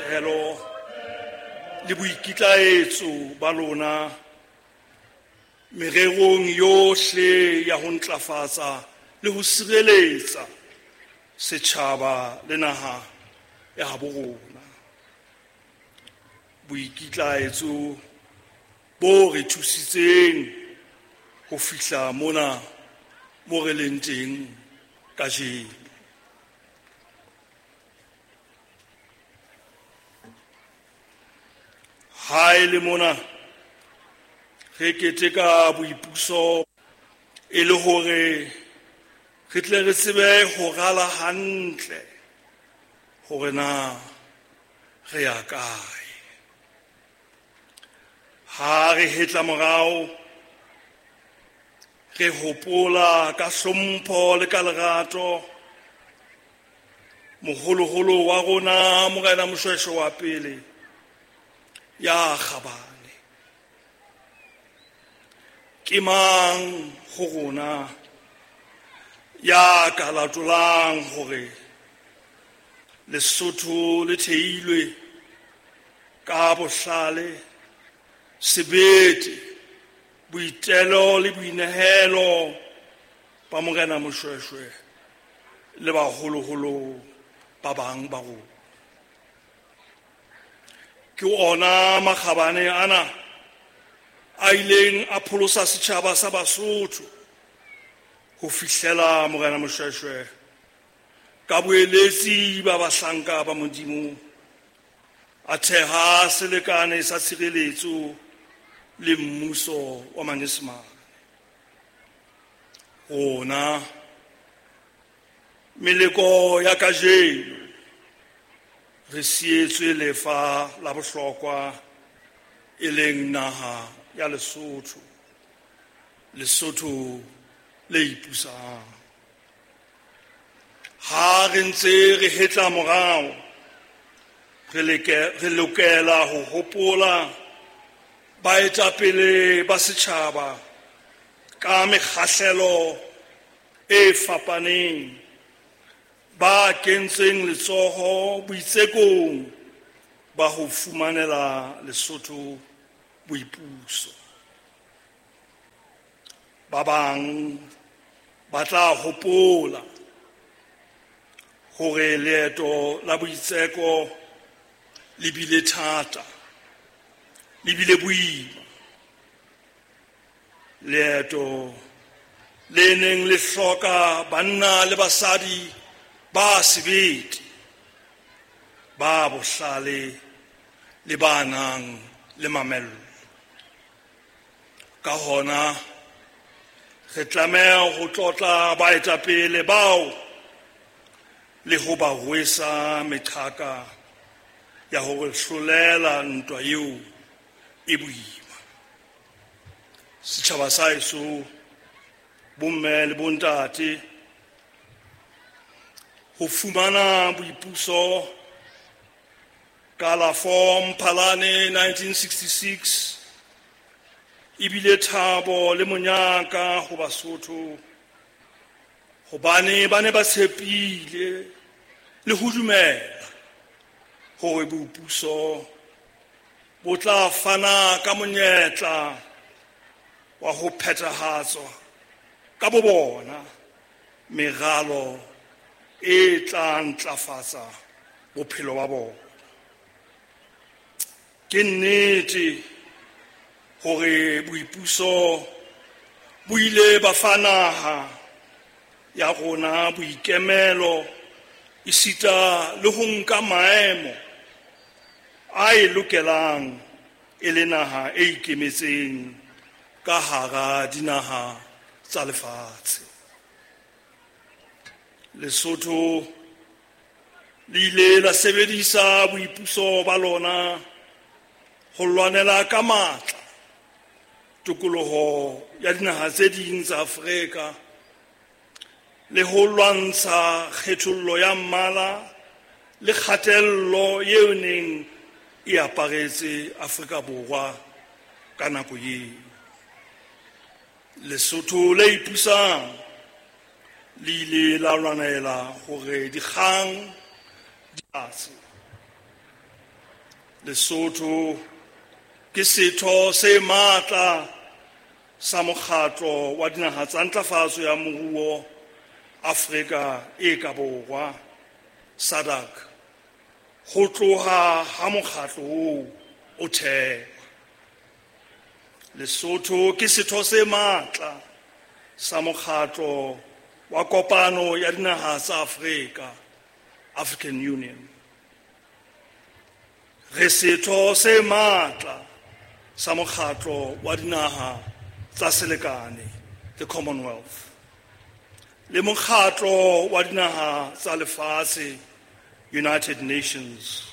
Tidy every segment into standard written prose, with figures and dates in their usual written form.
boitelo le boikitlaetso ba lona mererong yohle ya ho ntlafatsa le ho sireletsa setjhaba le naha ya habo rona. Boikitlaetso bo re thusitseng ho fihla mona mo re leng teng kajeno. Ha e le mona re keteka boipuso e le hore re tle re tsebe ho rala hantle hore na re ya kae. Ha re hetla morao re hopola ka hlompho le ka lerato moholoholo wa rona Morena Moshoeshoe wa pele ya kgabane. Ke mang ho rona ya ka latolang hore Lesotho le theilwe ka bohlale, sebete, boitelo le boinehelo ba Morena Moshoeshoe le baholoholo ba bang ba rona. Ke ona makgabane ana a ileng a pholosa setjhaba sa Basotho ho fihlela Morena Moshoeshoe ka boeletsi ba bahlanka ba Modimo a theha selekane sa tshireletso le mmuso wa Manyesemane. Rona meleko ya kajeno re sietswe lefa la bohlokwa e leng naha ya Lesotho, Lesotho le ipusang. Ha re ntse re hetla morao re lokela ho hopola baetapele ba setjhaba ka mekgahlelo e fapaneng ba kentseng letsoho boitsekong ba ho fumanela Lesotho boipuso. Ba bang ba tla hopola hore leeto la boitseko le bile thata, le bile boima. Leeto le neng le hloka banna le basadi ba sebete, ba bohlale le ba nang le mamello. Ka hona re tlameha ho tlotla baetapele bao le ho ba rwesa meqhaka ya hore hlolela ntwa eo e boima. Setjhaba sa heso, bomme le bontate, ho fumana boipuso ka la 4 Mphalane 1966 ebile thabo le monyaka ho Basotho, hobane ba ne ba tshepile le ho dumela hore boipuso bo tla fana ka monyetla wa ho phethahatswa ka bo bona meralo e tla ntlafatsa bophelo ba bona. Ke nnete hore boipuso bo ile ba fa naha ya rona boikemelo esita le ho nka maemo a e lokelang e le naha e ikemetseng ka hara dinaha tsa lefatshe. Lesotho le ile la sebedisa boipuso ba lona ho lwanela ka matla tokoloho ya dinaha tse ding tsa Afrika le ho lwantsha kgethollo ya mmala le kgatello eo neng e aparetse Afrika Borwa ka nako eo. Lesotho le ipusang le ile la lwanela hore dikgang di tlase. Lesotho ke setho se matla sa Mokgatlo wa Dinaha tsa Ntlafatso ya Moruo Afrika e ka Borwa, SADC, ho tloha ha mokgatlo oo o thehwa. Lesotho ke setho se matla sa Mokgatlo wa Kopano ya Dinaha tsa Afrika, African Union. Re setho se matla sa Mokgatlo wa Dinaha tsa Selekane, the Commonwealth, le Mokgatlo wa Dinaha tsa Lefatshe, United Nations,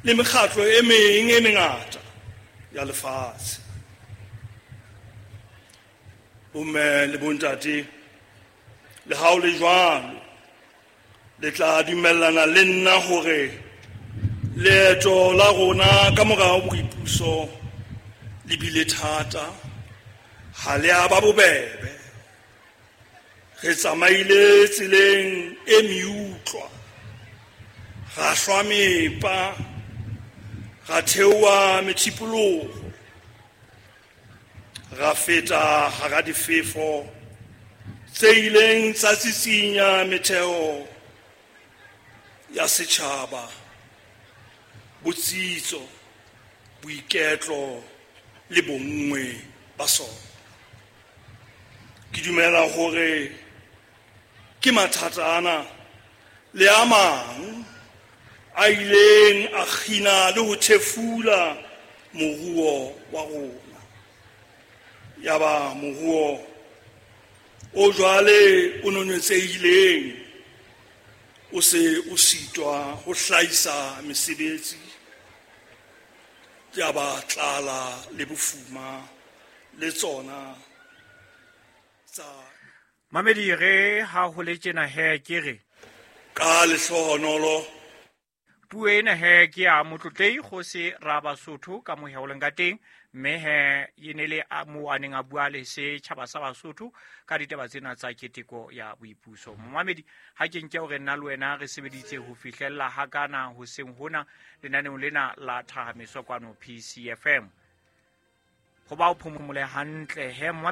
le mekgatlo e meng e mengata ya lefatshe. Bomme le bontate, le ha o le jwalo, le tla dumellana le nna hore leeto la rona ka mora boipuso le bile thata, ha le a ba bobebe. Re tsamaile tseleng e meutlwa, ra hlwa mepa, ra theoha methipoloho, ra feta hara difefo tse ileng tsa tsitsinya metheo ya setjhaba, botsitso, boiketlo le bonngwe ba sona. Ke dumela hore ke mathata ana le a mang a ileng a kgina le ho thefula moruo wa rona. Yaba moruo o jwale o nonetsehileng o se o sitwa ho hlahisa mesebetsi, yaba tlala le bofuma le tsona tsa Mamedi re ha ho le tjena he ke re ka lehlohonolo. Puo ena he ke ya Motlotlei Kgosi Rabasotho ka moheho leng ka teng, mme he e ne le moo a neng a bua le setjhaba sa Basotho ka ditaba tsena tsa keteko ya boipuso. Momamedi, ha ke nke hore nna le wena re sebeditse ho fihlella hakana hoseng hona lenaneong lena la Thahameso kwano PCFM. Ho ba o phomole hantle he.